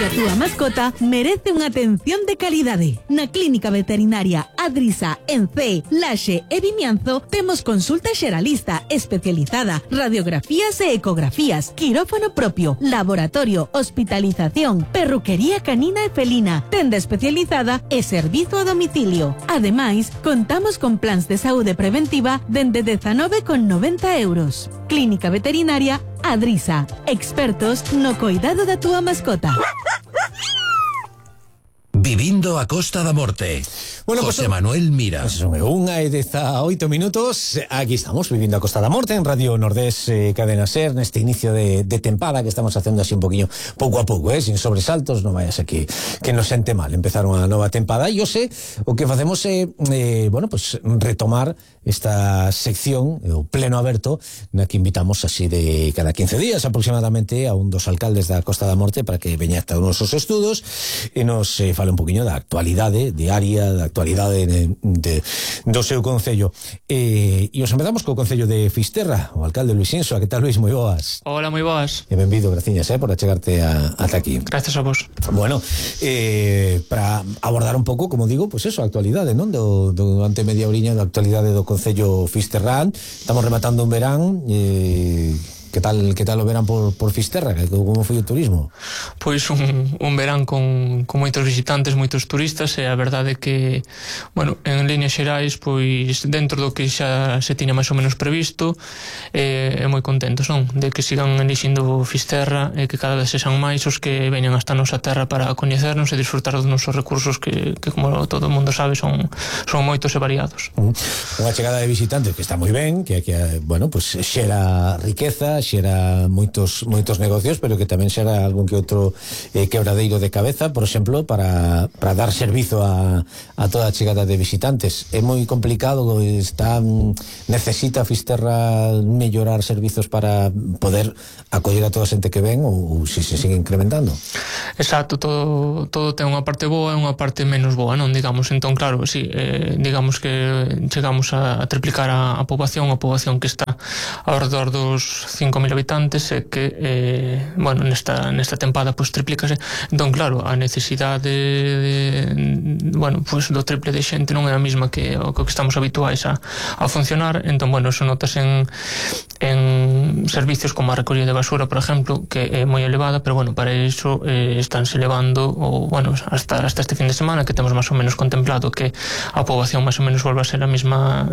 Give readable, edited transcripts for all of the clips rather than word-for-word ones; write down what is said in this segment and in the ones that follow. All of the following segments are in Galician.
Porque a túa mascota merece unha atención de calidade. Na Clínica Veterinaria Adrisa, en Cee, Laxe e Vimianzo temos consulta xeralista especializada, radiografías e ecografías, quirófano propio, laboratorio, hospitalización, perruquería canina e felina, tenda especializada e servizo a domicilio. Ademais, contamos con plans de saúde preventiva dende 19,90 €. Clínica Veterinaria Adrisa, expertos no cuidado da túa mascota. Vivindo a Costa da Morte. Bueno, José Manuel Mira. Son 1:18. Aquí estamos, Vivindo a Costa da Morte, en Radio Nordés, Cadena Ser, neste inicio de tempada que estamos facendo así un poquinho, pouco a pouco, sin sobresaltos, non vayas aquí que nos sente mal empezar unha nova tempada. E hoxe o que facemos é, pues retomar esta sección, o pleno aberto, na que invitamos así de cada 15 días aproximadamente a un dos alcaldes da Costa da Morte para que veña hasta os nosos estudos e nos fale un poquinho da actualidade diaria, da actualidade do seu concello. E os empezamos co concello de Fisterra, o alcalde Luis Insoa. Que tal, Luis? Moi boas. Hola, moi boas. E benvido, graciñas, por achegarte ata aquí. Gracias a vos. Bueno, para abordar un pouco, como digo, pues eso, a actualidade, non? Durante media oriña da actualidade do concello fisterrán. Estamos rematando un verán. Que tal o verán por Fisterra? Como foi o turismo? Pois un verán con moitos visitantes, moitos turistas, e a verdade é que, bueno, en líneas xerais, pois dentro do que xa se tiña máis ou menos previsto, é moi contentos, non? De que sigan elixindo Fisterra e que cada vez sexan máis os que veñan hasta a nosa terra para coñecernos e disfrutar dos nosos recursos que como todo o mundo sabe, son moitos e variados. Unha chegada de visitantes que está moi ben, que bueno, pues xera riqueza, xera moitos negocios, pero que tamén xera algún que outro quebradeiro de cabeza, por exemplo, para dar servizo a toda a chegada de visitantes. É moi complicado, necesita Fisterra mellorar servizos para poder acoller a toda a xente que ven, ou se sigue incrementando? Exacto, todo ten unha parte boa e unha parte menos boa, non? Digamos, entón, claro, sí, digamos que chegamos a triplicar a poboación que está ao redor dos 5.000 habitantes, e que, bueno, nesta tempada pois triplícase. Entón, claro, a necesidade bueno, pois do triple de xente non é a mesma que o que estamos habituais a funcionar. Entón, bueno, eso notas en servicios como a recollida de basura, por exemplo, que é moi elevada, pero bueno, para iso estánse elevando, bueno, hasta este fin de semana, que temos máis ou menos contemplado que a poboación máis ou menos volva a ser a mesma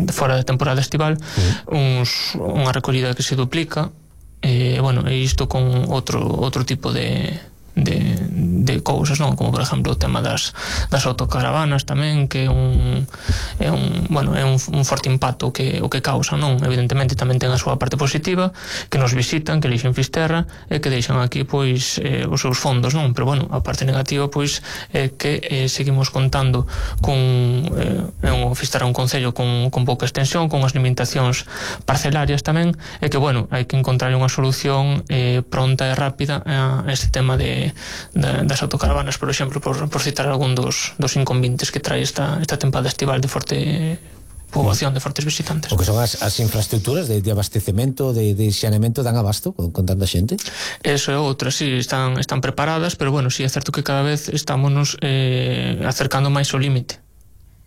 fora da temporada estival, unha recollida que se duplica, bueno, e isto con outro tipo de cousas, non? Como por exemplo o tema das autocaravanas tamén, que é un forte impacto o que causa, non? Evidentemente tamén ten a súa parte positiva, que nos visitan, que elixen Fisterra e que deixan aquí pois os seus fondos, non? Pero bueno, a parte negativa pois é que seguimos contando con Fisterra un concello con pouca extensión, con as limitacións parcelarias tamén, e que bueno, hai que encontrar unha solución pronta e rápida a este tema das autocaravanas, por exemplo, por citar algún dos inconvenientes que trae esta tempada estival de forte poboación, de fortes visitantes. O que son as infraestructuras de abastecemento, de xanemento, dan abasto con tanta xente? Eso é outra, sí, están preparadas, pero bueno, sí, é certo que cada vez estámonos acercando máis ao límite.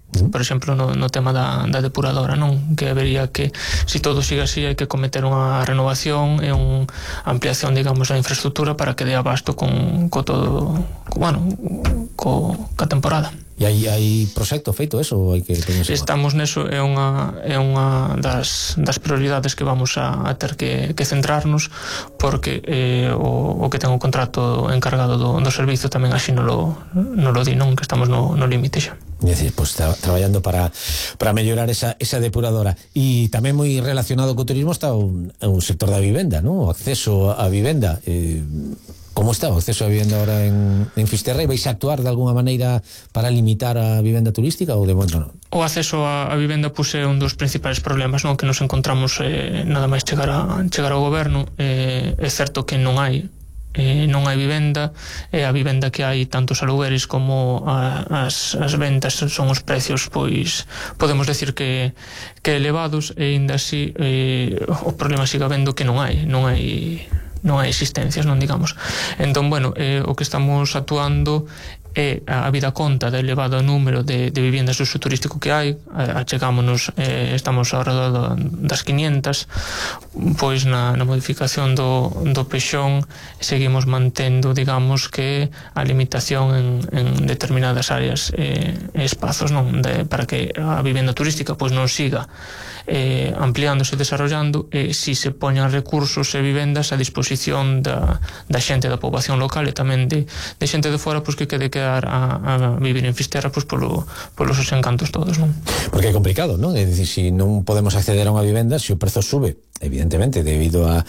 Por exemplo, no tema da depuradora, non? Que habería que, se todo sigue así, hai que cometer unha renovación e unha ampliación, digamos, da infraestructura para que dé abasto con todo, bueno, ca temporada. E hai proxecto feito eso? Ou hai que estamos neso, é unha das prioridades que vamos a ter que centrarnos, porque o que ten o contrato encargado do servizo tamén así non lo di, non? Que estamos no límite xa. É dicir, pues, traballando para mellorar esa depuradora. E tamén moi relacionado co turismo está o sector da vivenda, non? O acceso á vivenda. Como está o acceso á vivenda ahora en Fisterra? E vais a actuar de alguna maneira para limitar a vivenda turística ou de momento non? O acceso á vivenda é un dos principais problemas, non? Que nos encontramos nada máis chegar ao goberno. É certo que non hai vivenda, e a vivenda que hai, tanto os alugueres como as ventas, son os precios, pois podemos decir que elevados, e ainda así o problema siga vendo que non hai hai existencias, non digamos. Entón, bueno, o que estamos actuando é a vida conta do elevado número de viviendas de uso turístico que hai. Achegámonos, estamos ao redor das 500, pois na modificación do pexón seguimos mantendo, digamos, que a limitación en determinadas áreas e espazos, non, para que a vivenda turística pois non siga ampliándose e desarrollando, si se poñan recursos e vivendas a disposición da xente da poboación local e tamén de xente de fora, pois que quede quedar a vivir en Fisterra pois polos seus encantos todos, non? Porque é complicado, non? É dicir, si non podemos acceder a unha vivenda, se o prezo sube, evidentemente, debido a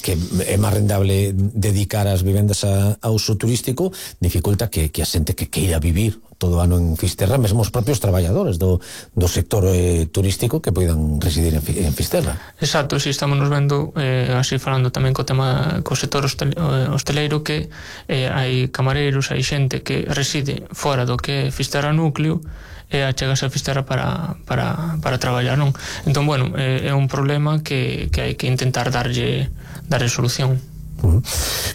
que é máis rendable dedicar as vivendas a uso turístico, dificulta que a xente que queira vivir todo o ano en Fisterra, mesmo os propios traballadores do sector turístico que poidan residir en Fisterra. Exacto, si estamos nos vendo así falando tamén co tema co sector hosteleiro, que hai camareiros, hai xente que reside fora do que é Fisterra núcleo e achegase a Fisterra para traballar, non? Entón, bueno, é un problema que hai que intentar darlle solución.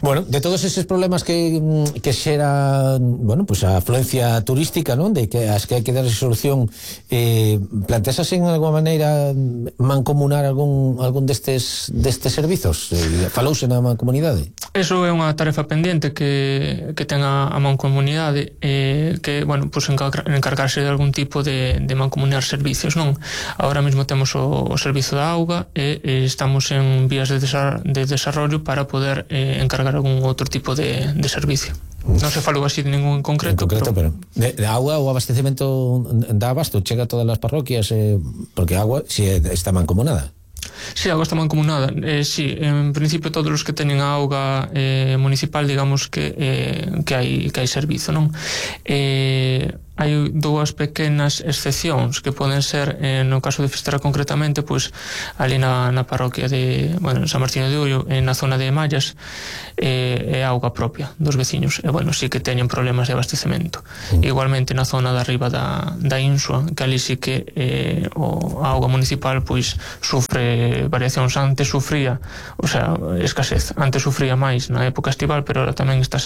Bueno, de todos esos problemas que xera, bueno, pues a afluencia turística, non? De que as que hai que dar solución, plantexas en alguma maneira mancomunar algún destes servizos? Falouse na mancomunidade? Eso é unha tarefa pendente que ten a mancomunidade, que, bueno, pues encargarse de algún tipo de mancomunar servicios, non? Ahora mesmo temos o servizo da auga e estamos en vías de desarrollo para poder encargar algún outro tipo de servicio. Non se falou así de ningún en concreto, pero de auga, o abastecemento da abasto chega a todas as parroquias, porque a agua si está mancomunada. Si, a auga está mancomunada. Si, en principio todos os que teñen a auga municipal, digamos que hai servizo, non? Hai dúas pequenas excepcións que poden ser, no caso de Fisterra concretamente, pois ali na parroquia de, bueno, San Martiño de Ullo, na zona de Mallas, é auga propia dos veciños, e, bueno, sí que teñen problemas de abastecemento. Igualmente na zona de arriba da Insua, que ali sí que a auga municipal pois sufre variacións. Antes sufría, o sea, escasez, antes sufría máis na época estival, pero ahora tamén está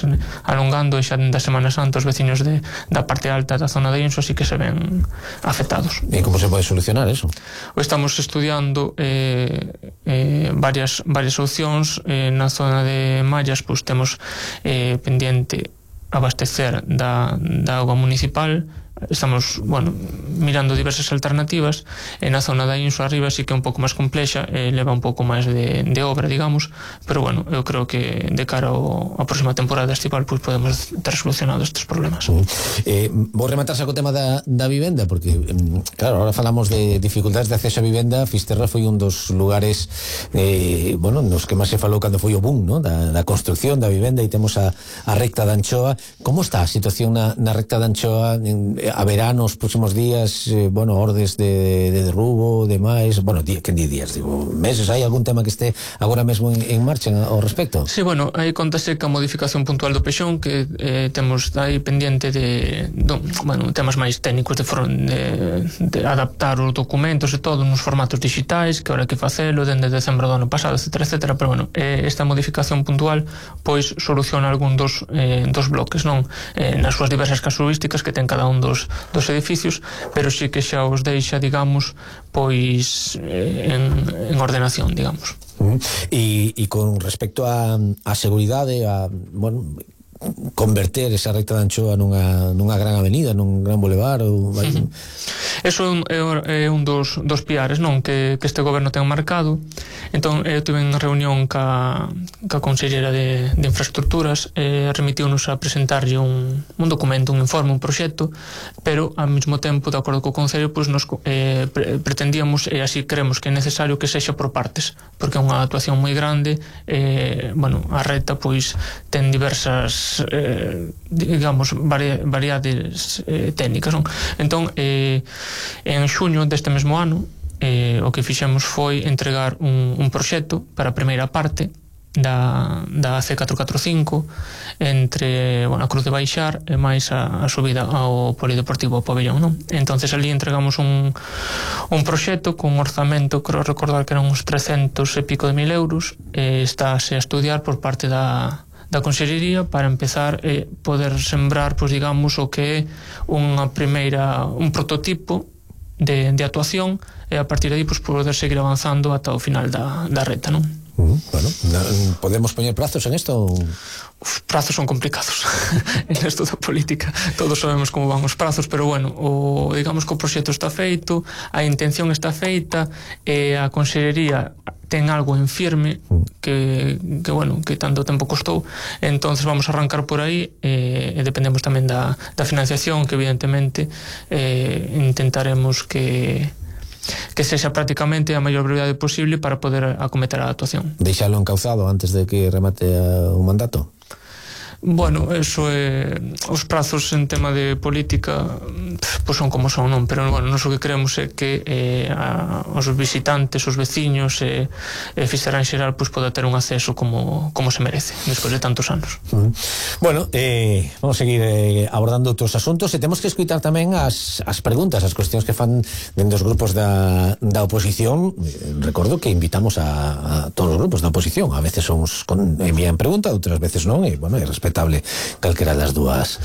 alongando, e xa da Semana Santa os veciños da parte alta da zona de Insua sí que se ven afectados. E como se pode solucionar eso? Estamos estudiando varias opcións. Na zona de Mallas pois temos pendiente abastecer da auga municipal. Estamos, bueno, mirando diversas alternativas. E na zona da Insua arriba sí que é un pouco máis complexa, leva un pouco máis de obra, digamos, pero, bueno, eu creo que de cara a próxima temporada estival pois podemos ter solucionado estes problemas. Vou rematar co tema da vivenda, porque, claro, ahora falamos de dificultades de acceso a vivenda. Fisterra foi un dos lugares, bueno, nos que máis se falou cando foi o boom, ¿no? da construcción da vivenda, e temos a recta da Anchoa. Como está a situación na recta da Anchoa? Haberá nos próximos días, bueno, ordes de derrubo, demais, bueno, que días, digo, meses, hai algún tema que este agora mesmo en marcha ao respecto? Sí, bueno, aí contase ca modificación puntual do pexón, que temos aí pendiente bueno, temas máis técnicos de adaptar os documentos e todo nos formatos digitais, que ahora hai que facelo dende decembro do ano pasado, etcétera, pero, bueno, esta modificación puntual pois soluciona algún dos bloques, non? Nas súas diversas casuísticas que ten cada un dos edificios, pero sí que xa os deixa, digamos, pois en ordenación, digamos. E con respecto a seguridade, bueno, converter esa recta de Anchoa nunha gran avenida, nun gran boulevard, ou... Eso é un dos piares, non, que este goberno ten marcado. Entón, eu tive en reunión ca consellera de infraestructuras, remitiunos a presentarlle un documento, un informe, un proxecto, pero ao mesmo tempo, de acordo co Concello, pois nos pretendíamos, e así creemos que é necesario, que sexa por partes, porque é unha actuación moi grande. Bueno, a recta pois ten diversas, digamos, variedades técnicas, non? Entón, en xuño deste mesmo ano, o que fixemos foi entregar un proxecto para a primeira parte, da C445 entre a Cruz de Baixar e máis a subida ao Polideportivo Pabellón, non? Entonces ali entregamos un proxecto con un orzamento, creo recordar que eran uns 300 e pico de mil euros, estáse a estudiar por parte da Consellería para empezar a poder sembrar, pois digamos, o que é un prototipo de actuación, e a partir de aí pois poder seguir avanzando ata o final da reta, non? Bueno, ¿podemos poner plazos en esto? Os prazos son complicados en esto da política, todos sabemos como van os prazos, pero bueno, digamos que o proxecto está feito, a intención está feita, e a Consellería ten algo en firme que tanto tempo costou, entonces vamos a arrancar por aí, e dependemos tamén da financiación, que evidentemente intentaremos que sexa prácticamente a maior brevidade posible para poder acometer a actuación. Deixalo encauzado antes de que remate o mandato? Bueno, eso os prazos en tema de política pois son como son, non? Pero bueno, nós o que queremos é que os visitantes, os veciños e Fisterra en xeral pois poda ter un acceso como se merece despois de tantos anos. Bueno, vamos a seguir abordando outros asuntos, e temos que escutar tamén as preguntas, as cuestións que fan dentro dos grupos da oposición. Recordo que invitamos a todos os grupos da oposición, a veces envían pregunta, outras veces non, e bueno, é respetable calquera das dúas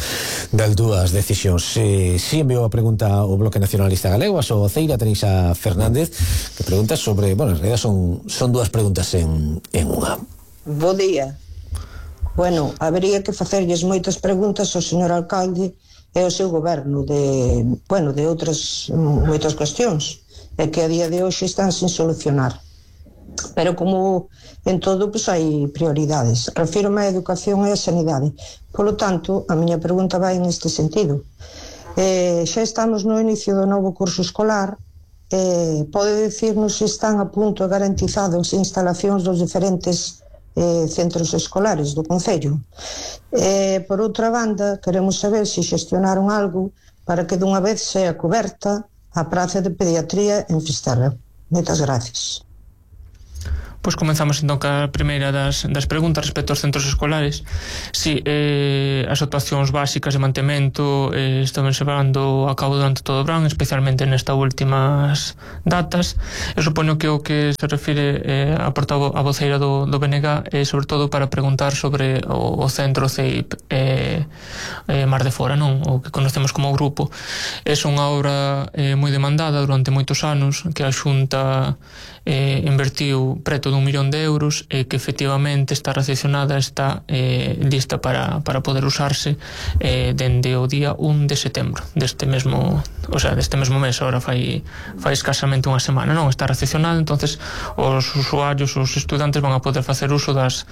decisións. Si enviou a pregunta o Bloque Nacionalista Galego, a súa voceira Teresa Fernández, que pregunta sobre, bueno, en realidad son dúas preguntas en unha. Bo día. Bueno, habería que facerlles moitas preguntas ao señor alcalde e ao seu goberno de outras moitas cuestións, e que a día de hoxe están sin solucionar. Pero como en todo, pois hai prioridades. Refírome á educación e á sanidade. Polo tanto, a miña pregunta vai en este sentido. Xa estamos no inicio do novo curso escolar. Pode dicirnos se están a punto e garantizados instalacións dos diferentes centros escolares do concello? Por outra banda, queremos saber se xestionaron algo para que dunha vez sea coberta a praza de pediatría en Fisterra. Moitas gracias. Pois comenzamos entón ca primeira das preguntas respecto aos centros escolares. Si, as actuacións básicas de mantemento están levando a cabo durante todo o verán, especialmente nestas últimas datas. Eu supoño que o que se refire a voceira do BNG é sobre todo para preguntar sobre o centro CEIP Mar de Fora, non? O que conocemos como grupo. É unha obra moi demandada durante moitos anos, que a Xunta invertiu preto de 1 millón de euros, e que efectivamente está recepcionada, está lista para poder usarse dende o día 1 de setembro deste mesmo mes. Ahora fai escasamente unha semana, non? Está recepcionada, entonces os usuarios, os estudantes van a poder facer uso das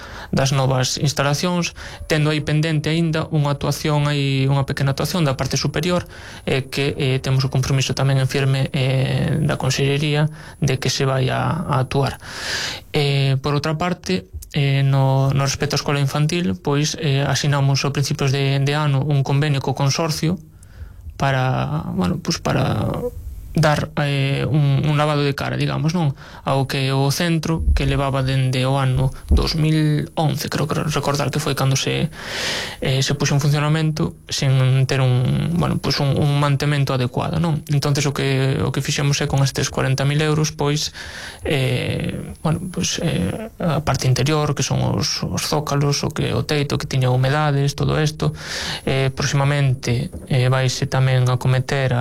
novas instalacións, tendo aí pendente aínda unha pequena actuación da parte superior, que temos o compromiso tamén en firme da Consellería de que se vai a actuar. Por outra parte, no respecto á escola infantil, pois asinamos a principios de ano un convenio co consorcio para dar un lavado de cara, digamos, non? Ao que o centro, que levaba dende o ano 2011, creo que recordar que foi cando se puxo en funcionamento, sen ter un mantemento adecuado, non? Entonces o que fixemos é con estes 40.000 euros, pois a parte interior, que son os zócalos, o teito que tiña humedades, todo isto, próximamente vaise tamén a cometer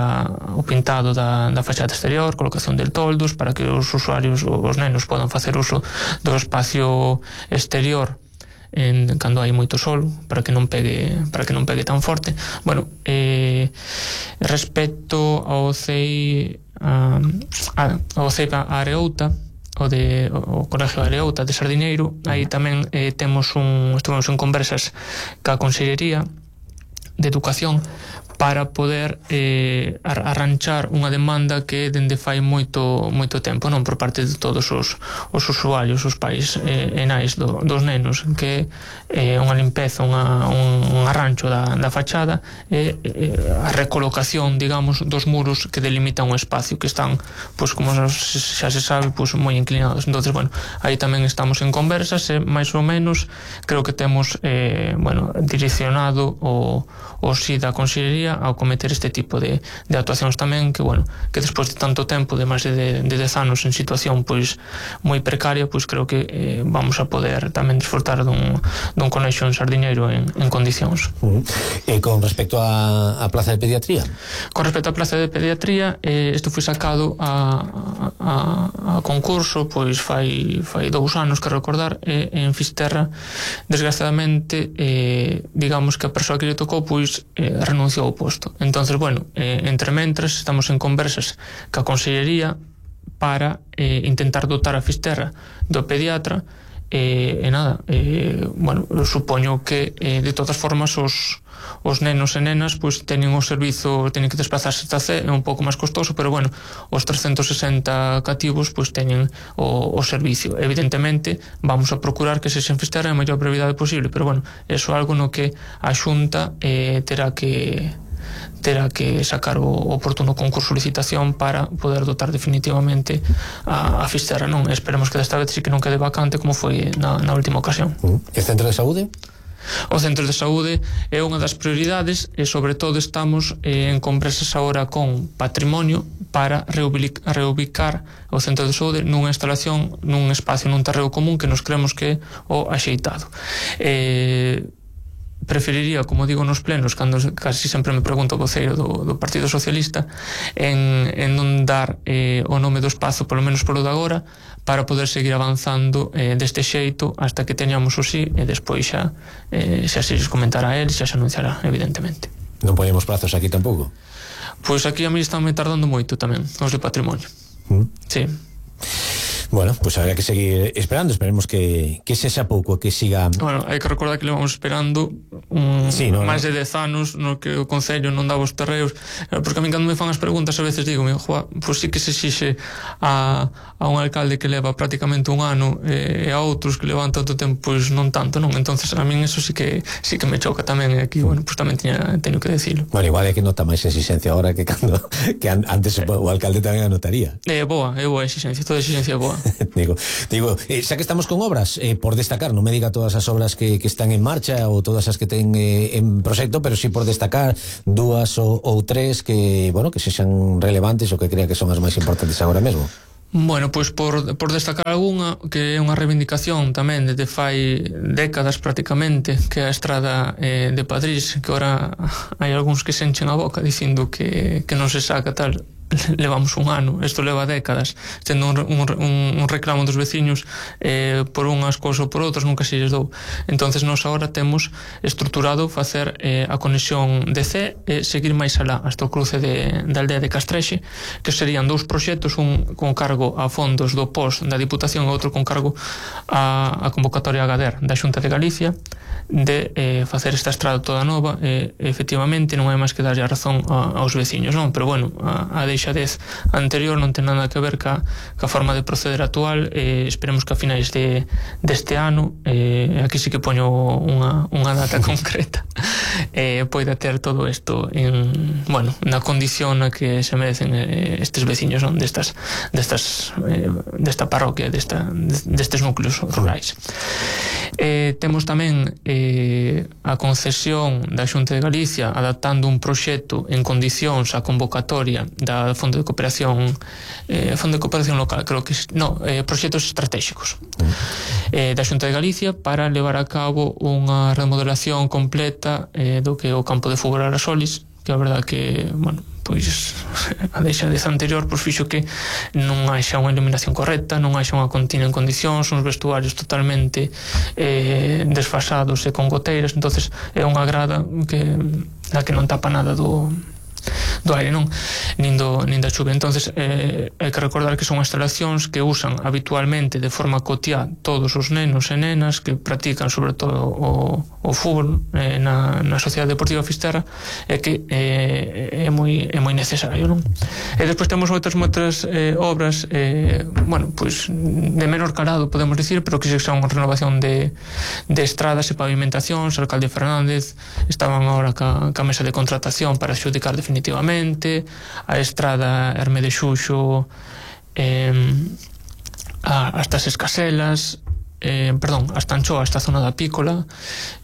o pintado da fachada exterior, colocación de toldos para que os usuarios, os nenos, podan facer uso do espacio exterior cando hai moito sol, para que non pegue tan forte. Bueno, respecto ao CEI Areouta, o Colegio Areouta de Sardiñeiro, aí tamén estuvemos en conversas ca Consellería de Educación para poder arranchar unha demanda que dende fai moito tempo, non, por parte de todos os usuarios, os pais e nais dos nenos, que unha limpeza, un arrancho da fachada e a recolocación, digamos, dos muros que delimitan un espacio que están, pois, como xa se sabe, pois, moi inclinados. Entonces, bueno, aí tamén estamos en conversas e máis ou menos creo que temos direccionado o si da Consellería ao cometer este tipo de actuacións tamén, que, bueno, que despois de tanto tempo, de máis de 10 anos en situación pois moi precaria, pois creo que vamos a poder tamén disfrutar dun colexio en Sardiñeiro en condicións. E con respecto a plaza de pediatría? Con respecto á plaza de pediatría, isto foi sacado a concurso pois fai 2 anos, que recordar, en Fisterra. Desgraciadamente, digamos que a persoa que lle tocou pois renunciou ao posto. Entonces, bueno, entre mentras estamos en conversas ca Consellería para intentar dotar a Fisterra do pediatra bueno, supoño que de todas formas os nenos e nenas pois teñen o servizo, teñen que desplazarse esta C, é un pouco máis costoso, pero bueno, os 360 cativos pois teñen o servicio. Evidentemente vamos a procurar que se en Fisterra a maior brevidade posible, pero bueno, eso é algo no que a Xunta terá que sacar o oportuno concurso de licitación para poder dotar definitivamente a Fisterra, non? Esperemos que desta vez sí que non quede vacante como foi na última ocasión. E Centro de Saúde? O Centro de Saúde é unha das prioridades e sobre todo estamos en conversas agora con Patrimonio para reubicar o Centro de Saúde nunha instalación, nun espacio, nun terreo común que nos creemos que é o axeitado. Preferiría, como digo nos plenos, cando casi sempre me pregunto o voceiro do Partido Socialista, en non dar o nome do espazo, polo menos polo de agora, para poder seguir avanzando deste xeito hasta que teñamos o sí, e despois xa se les comentará a él, xa se anunciará, evidentemente. Non poñemos prazos aquí tampouco? Pois aquí a mí están me tardando moito tamén, os de Patrimonio. Sí. Bueno, pues habrá que seguir esperando. Esperemos que sexa pouco, que siga. Bueno, hai que recordar que levamos esperando máis de 10 anos no que o Concello non daba os terreos, porque a mí cando me fan as preguntas a veces digo, pois sí que se exixe a un alcalde que leva prácticamente un ano e a outros que levan tanto tempo, pois non tanto, non? Entonces a min eso sí que me choca tamén, e aquí, bueno, pois tamén teño que decirlo. Bueno, igual é que nota máis exigencia ahora que antes o alcalde tamén anotaría. É boa exigencia, toda exigencia é boa. digo, xa que estamos con obras, por destacar, non me diga todas as obras que están en marcha ou todas as que ten en proxecto, pero sí por destacar 2 ou 3 que, bueno, que sexan relevantes ou que crea que son as máis importantes agora mesmo. Bueno, pois por destacar algunha que é unha reivindicación tamén desde fai décadas prácticamente, que é a estrada de Padrís, que ahora hai algúns que se enchen a boca dicindo que non se saca tal. Levamos un ano, isto leva décadas tendo un reclamo dos veciños por unhas cousas ou por outras, nunca se lles dou. Entonces nós agora temos estruturado facer a conexión de C e seguir máis alá hasta o cruce da aldea de Castrexe, que serían 2 proxectos, un con cargo a fondos do POS da Diputación e outro con cargo a convocatoria AGADER da Xunta de Galicia, de facer esta estrada toda nova. Efectivamente non hai máis que darlle a razón aos veciños, non? Pero bueno, a deixadez anterior non ten nada que ver ca forma de proceder actual. Esperemos que a finais deste ano, aquí sí que poño unha data concreta, poida ter todo isto na condición na que se merecen estes veciños, non? Desta parroquia, destes núcleos rurais. Temos tamén a concesión da Xunta de Galicia adaptando un proxecto en condicións á convocatoria da Fondo de Cooperación Local, creo que proxectos estratégicos da Xunta de Galicia para levar a cabo unha remodelación completa do que é o campo de fútbol Arasolis, que a verdad que, bueno, pois a deixadez anterior pois fixo que non haxa unha iluminación correcta, non haxa unha cantina en condicións, uns vestuarios totalmente desfasados e con goteiras. Entonces é unha grada que non tapa nada aire, non? Nin da chuvia. Entonces hai que recordar que son instalacións que usan habitualmente de forma cotiá todos os nenos e nenas que practican sobre todo o fútbol na Sociedade Deportiva Fisterra, e que é moi necesario, non? E despois temos moitas obras bueno, pois de menor calado, podemos dicir, pero que son renovación de estradas e pavimentacións. O alcalde Fernández estaban agora ca mesa de contratación para adxudicar definitivamente a estrada Herme de Xuxo hasta as Escaselas, hasta Anchoa, esta zona da Pícola,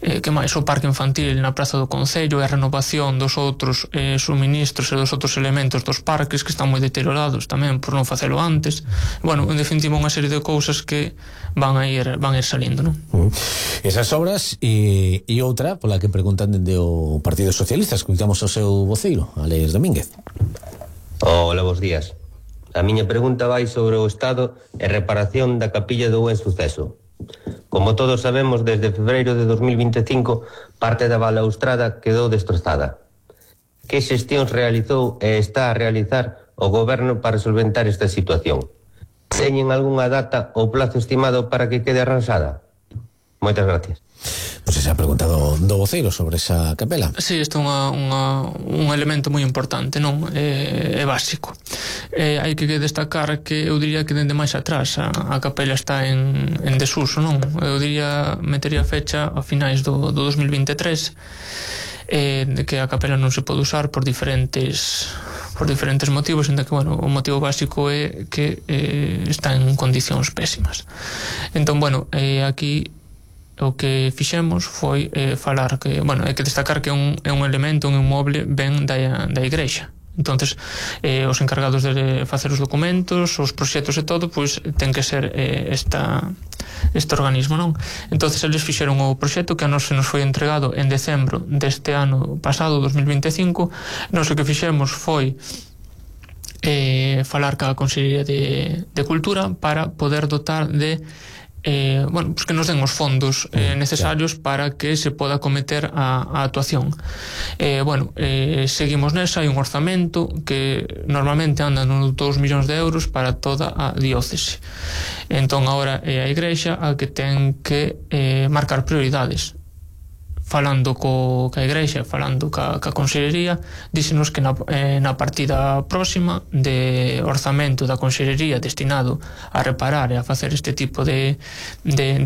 que máis o parque infantil na Praza do Concello, e a renovación dos outros suministros e dos outros elementos dos parques que están moi deteriorados tamén por non facelo antes. Bueno, en definitiva unha serie de cousas que van a ir salindo, non? Esas obras e outra pola que preguntan dende o Partido Socialista. Escoitamos o seu voceiro, Alex Domínguez. Hola, bos días. A miña pregunta vai sobre o estado e reparación da capilla do Buen Suceso. Como todos sabemos, desde febreiro de 2025 parte da balaustrada quedou destrozada. Que xestións realizou e está a realizar o goberno para solventar esta situación? Teñen algunha data ou plazo estimado para que quede arranxada? Moitas gracias. Pois se ha preguntado do voceiro sobre esa capela. Sí, isto é un elemento moi importante, non? É básico. Hai que destacar que eu diría que dende máis atrás a capela está en desuso, non? Eu diría, metería fecha a finais do 2023, de que a capela non se pode usar por diferentes motivos, en que, bueno, o motivo básico é que está en condicións pésimas. Entón, bueno, aquí o que fixemos foi falar que, bueno, hai que destacar que é un elemento, un inmoble ben da igrexa. Entonces, os encargados de facer os documentos, os proxectos e todo, pois ten que ser este organismo, non? Entonces, eles fixeron o proxecto que a nos se nos foi entregado en decembro deste ano pasado, 2025. Nos o que fixemos foi falar ca Consellería de Cultura para poder dotar de bueno, pues que nos den os fondos necesarios para que se poda cometer a actuación. Bueno, seguimos nesa, hai un orzamento que normalmente anda nos 2 millóns de euros para toda a diócese. Entón agora é a Igrexa a que ten que marcar prioridades. Falando ca Igrexa, falando ca Consellería, díxenos que na partida próxima de orzamento da Consellería destinado a reparar e a facer este tipo de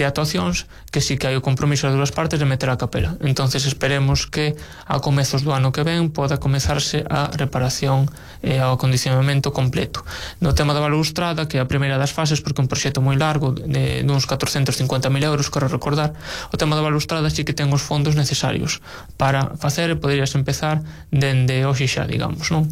actuacións, que sí que hai o compromiso das dúas partes de meter a capela. Entonces esperemos que a comezos do ano que ven poda comezarse a reparación e ao acondicionamento completo. No tema da balaustrada, que é a primeira das fases, porque é un proxecto moi largo de uns 450.000 euros, quero recordar, o tema da balaustrada sí que ten os fondos necesarios para facer, e poderías empezar dende hoxe xa, digamos, non?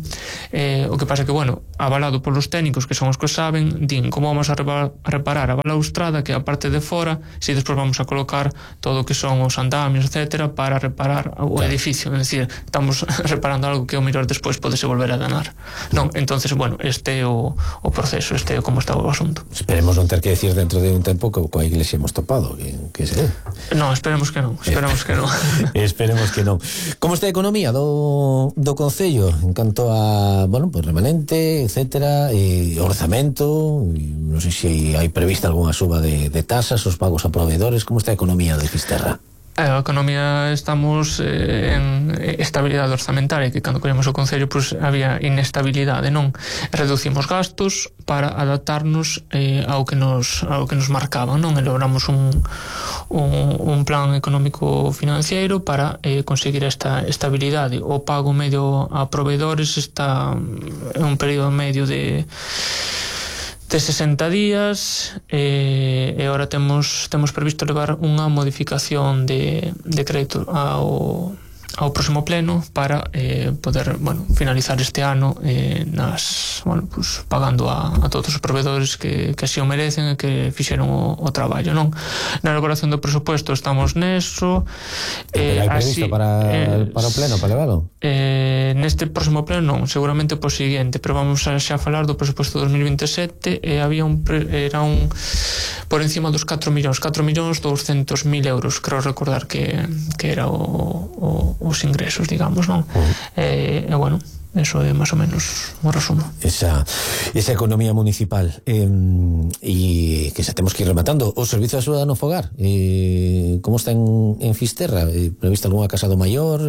O que pasa que, bueno, avalado polos técnicos que son os que saben, din como vamos a reparar a balaustrada, que é a parte de fora, se despois vamos a colocar todo o que son os andamios, etcétera, para reparar o edificio. É dicir, estamos reparando algo que o mellor despois podese volver a danar, non? Entonces, bueno, este é o proceso, este é como está o asunto. Esperemos non ter que decir dentro de un tempo que coa Iglesia hemos topado, que sei. Non, esperemos que non, esperemos que non. Esperemos que non. Como está a economía do Concello en canto a, bueno, pues remanente, etcétera, e orzamento, non sei se hai prevista algunha suba de tasas, os pagos a proveedores? Como está a economía de Fisterra? A economía, estamos en estabilidade orzamentaria, que cando collemos o Concello pois había inestabilidade, non? Reducimos gastos para adaptarnos ao que nos marcaban, non? Elaboramos un plan económico financiero para conseguir esta estabilidade. O pago medio a proveedores está en un período medio de 60 días, e agora temos previsto levar unha modificación de crédito ao próximo pleno para poder, bueno, finalizar este ano pues, pagando a todos os proveedores que así o merecen e que fixeron o traballo, non? Na elaboración do presupuesto estamos neso. Hai previsto para o pleno, para levalo? Neste próximo pleno non, seguramente po seguinte, pero vamos xa falar do presupuesto 2027, e había era por encima dos 4.200.000 euros, creo recordar que era os ingresos, digamos, non? Bueno, Eso é máis ou menos o resumo. Esa economía municipal. E que xa temos que ir rematando. O Servizo de Axuda no Fogar, como está en Fisterra? Prevista algunha casa do maior?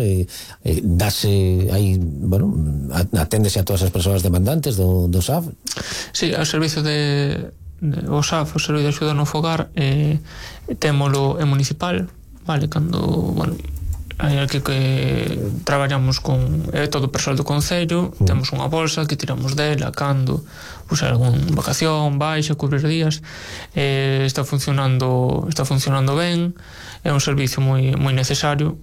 Dase aí, bueno, aténdese a todas as persoas demandantes do SAF? Sí, o servizo o SAF, o Servizo de Axuda no Fogar, témolo en municipal, vale, cando, bueno, aquí que traballamos con todo o persoal do Concello, temos unha bolsa que tiramos dela cando pois algún vacación, baixa, cubrir días, está funcionando ben, é un servizo moi necesario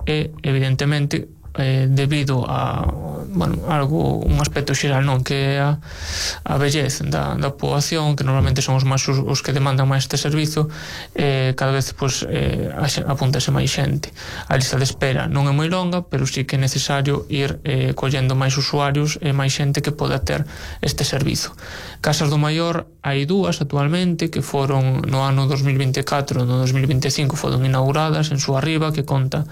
e evidentemente debido a, bueno, un aspecto xeral, non, que é a vellez da poboación, que normalmente son os que demandan máis este servizo, cada vez pois apúntase máis xente. A lista de espera non é moi longa, pero sí que é necesario ir collendo máis usuarios e máis xente que poda ter este servizo. Casas do Maior hai dúas actualmente que foron no ano 2024, no 2025 foron inauguradas en Súa-Riba, que conta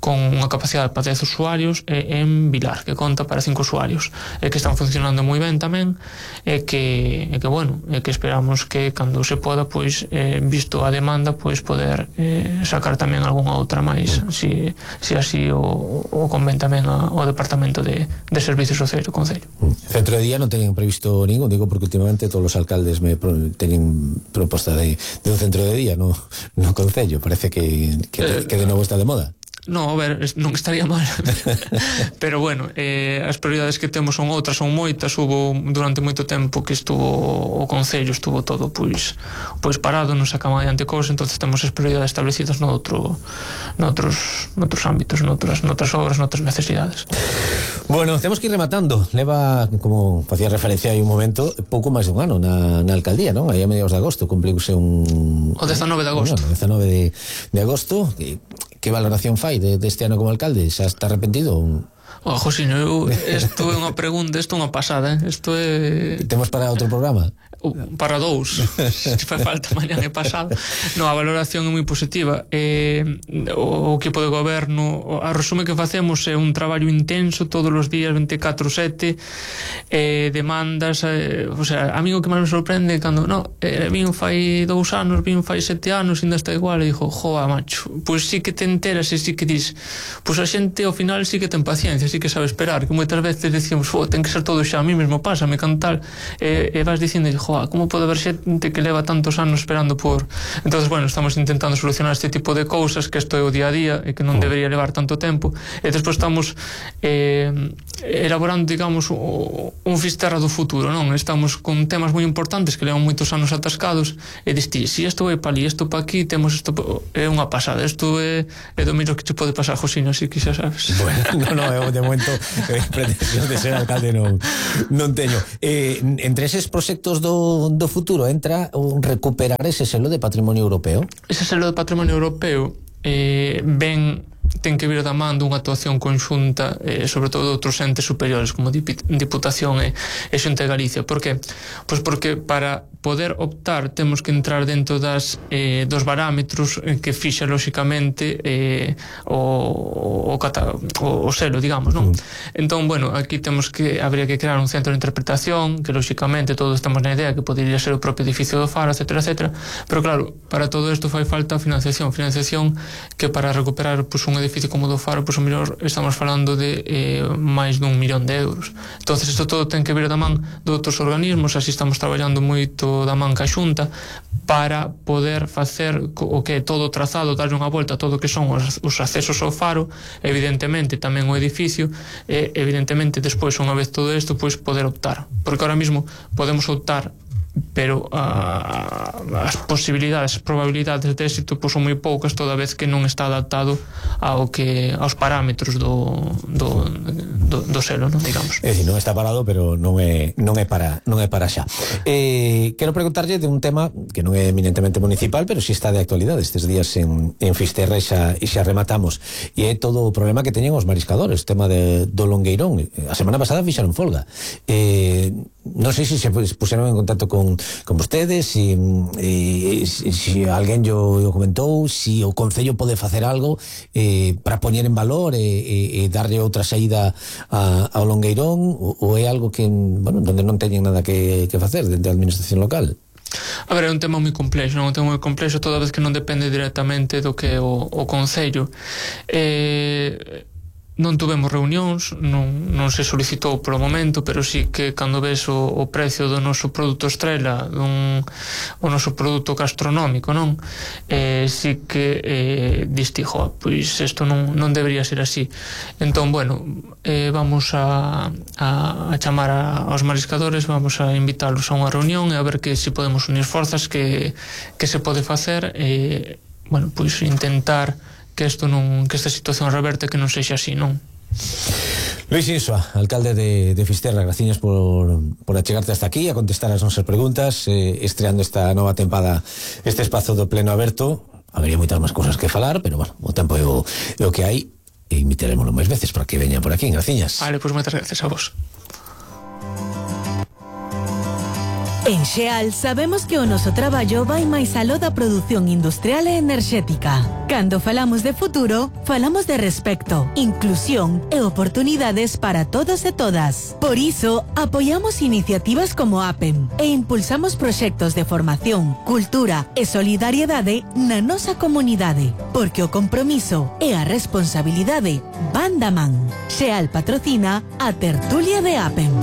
con unha capacidade para 10 usuarios, e en Vilar, que conta para 5 usuarios, e que están funcionando moi ben tamén, e que bueno, e que esperamos que cando se poda, pois visto a demanda, pois poder sacar tamén algunha outra máis, se así o convén tamén ao Departamento de Servicios Sociais do Concello. Centro de día non teñen previsto ningún, digo porque últimamente todos os alcaldes teñen proposta de un centro de día no Concello, parece que de novo está de moda. No, a ver, non estaría mal pero bueno, as prioridades que temos son outras, son moitas. Hubo durante moito tempo que o Concello estuvo todo pois parado, non sacamos adiante cousas, entonces temos as prioridades establecidas noutros ámbitos, noutras obras, noutras necesidades. Bueno, temos que ir rematando. Leva, como facía referencia hai un momento, pouco máis de un ano na alcaldía, non? Aí a mediados de agosto cumpliuse o 19 de agosto. 19 de agosto. Que valoración fai deste ano como alcalde? Xa está arrepentido? Josino, isto é unha pregunta, isto é unha pasada, isto é... Temos para outro programa? Para dous, se fai falta mañá e pasado. No, a valoración é moi positiva. O equipo de goberno, a resume que facemos é un traballo intenso todos os días, 24/7, demandas, o sea, a mí o que máis me sorprende cando, vin fai 2 anos, vin fai 7 anos, ainda está igual, e dixo, joa, macho, pois sí que te enteras e sí que dis, pois a xente ao final sí que ten paciencia, sí que sabe esperar, que moitas veces decimos, ten que ser todo xa, a mí mesmo pásame, cantar, e vas dicindo, como pode haber xente que leva tantos anos esperando por... Entonces, bueno, estamos intentando solucionar este tipo de cousas, que isto é o día a día e que non debería levar tanto tempo, e despois estamos elaborando, digamos, un Fisterra do futuro, non? Estamos con temas moi importantes que levan moitos anos atascados, e diste, si isto vai pa ali, isto pa aquí, temos isto, é unha pasada, isto é do miro que te pode pasar, Josino, así que xa sabes. Bueno, de momento pretensión de ser alcalde non teño. Entre eses proxectos do futuro entra recuperar ese selo de patrimonio europeo? Ese selo de patrimonio europeo ten que vir da man dunha actuación conxunta, sobre todo de outros entes superiores como Diputación e Xunta de Galicia. Por que? Pois porque para poder optar temos que entrar dentro dos parámetros que fixa lóxicamente o selo, digamos, non? Entón, bueno, aquí habría que crear un centro de interpretación que lóxicamente todos estamos na idea que podería ser o propio edificio do Faro, etcétera, etcétera, pero claro, para todo isto fai falta financiación que para recuperar un edificio como do Faro, o mellor estamos falando de máis dun 1 millón de euros. Entonces isto todo ten que vir da man de outros organismos, así estamos traballando moito da man ca Xunta para poder facer o que é todo o trazado, darlle unha volta a todo o que son os accesos ao Faro, evidentemente tamén o edificio, e evidentemente despois, unha vez todo isto, pois poder optar, porque ahora mismo podemos optar, pero as posibilidades, as probabilidades de éxito son moi poucas, toda vez que non está adaptado aos parámetros do selo, non, digamos. É dicir, non está parado, pero non é para xa. Quero preguntarlle de un tema que non é eminentemente municipal, pero si está de actualidade estes días en Fisterra, e xa rematamos, e é todo o problema que teñen os mariscadores, tema do Longueirón. A semana pasada fixaron folga. non sei se se puseron en contacto con vostedes, si alguén yo comentou, si o Concello pode facer algo para poñer en valor e darlle outra saída ao Longueirón, ou é algo que, bueno, donde non teñen nada que facer dentro da administración local. A ver, é un tema moi complexo, non? Un tema moi complexo toda vez que non depende directamente do que é o Concello. Non tuvemos reunións, non se solicitou polo momento, pero sí que cando ves o precio do noso produto estrela, o noso produto gastronómico, non? Sí que diste, pois isto non debería ser así. Entón, bueno, vamos a chamar aos mariscadores, vamos a invitarlos a unha reunión e a ver que se podemos unir forzas, que se pode facer, bueno, pois intentar que esta situación reverte, que non sexa así, non? Luis Insua, alcalde de Fisterra, graciñas por achegarte hasta aquí a contestar as nosas preguntas, estreando esta nova tempada este espazo do pleno aberto. Habería moitas máis cousas que falar, pero bueno, o tempo é o que hai, e invitaremoslo máis veces para que veña por aquí. Graciñas. Vale, pois moitas gracias a vos. En Xeal sabemos que o noso traballo vai máis aló da produción industrial e enerxética. Cando falamos de futuro, falamos de respecto, inclusión e oportunidades para todos e todas. Por iso, apoiamos iniciativas como APEM e impulsamos proxectos de formación, cultura e solidariedade na nosa comunidade, porque o compromiso e a responsabilidade van da man. Xeal patrocina a tertulia de APEM.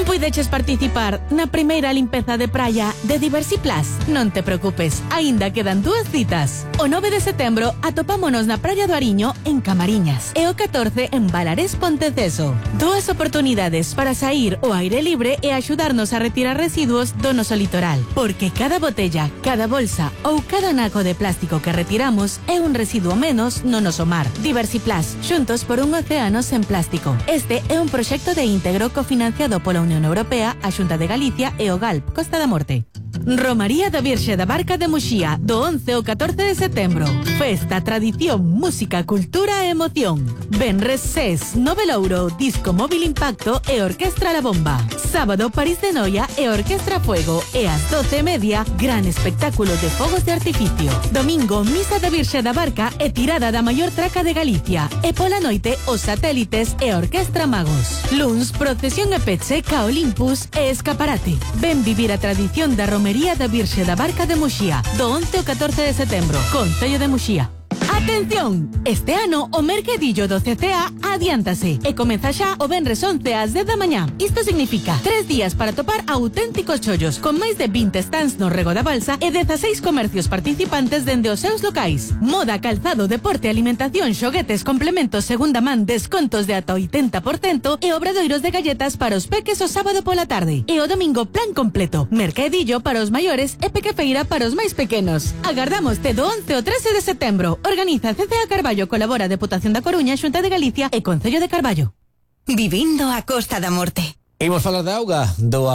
Puideches participar na primeira limpeza de praia de Diversiplus? Non te preocupes, aínda quedan 2 citas. O 9 de setembro atopámonos na praia do Ariño en Camariñas e o 14 en Balarés Ponteceso. 2 oportunidades para sair ao aire libre e axudarnos a retirar residuos do noso litoral, porque cada botella, cada bolsa ou cada naco de plástico que retiramos é un residuo menos no noso mar. Diversiplus, xuntos por un océano sen plástico. Este é un proxecto de íntegro cofinanciado pola Unión Europea, a Xunta de Galicia e o GALP Costa da Morte. Romaría da Virxe da Barca de Muxía, do 11 ao 14 de setembro. Festa, tradición, música, cultura e emoción. Venres SES, Novelouro, Disco Móvil Impacto e Orquestra La Bomba. Sábado, París de Noia e Orquestra Fuego. E ás 12:30, gran espectáculo de fogos de artificio. Domingo, Misa da Virxe da Barca e tirada da maior traca de Galicia. E pola noite, os satélites e Orquestra Magos. Luns, procesión e peche, ca Olympus e escaparate. Ven vivir a tradición da Romería da Virxe da Barca de Muxía, do 11 ao 14 de setembro, Concello de Muxía. Atención! Este ano o mercadillo do CCA adiántase e comeza xa o venres 11 ás 10 da mañá. Isto significa 3 días para topar auténticos chollos con máis de 20 stands no Rego da Balsa e 16 comercios participantes dende os seus locais. Moda, calzado, deporte, alimentación, xoguetes, complementos, segunda man, descontos de ata 80% e obradoiros de galletas para os peques o sábado pola tarde. E o domingo plan completo, mercadillo para os maiores e pequefeira para os máis pequenos. Agardámoste do 11 ao 13 de setembro. Organiza CCA Carballo, colabora Deputación da Coruña, Xunta de Galicia e Concello de Carballo. Vivindo a Costa da Morte. Imos falar da auga, do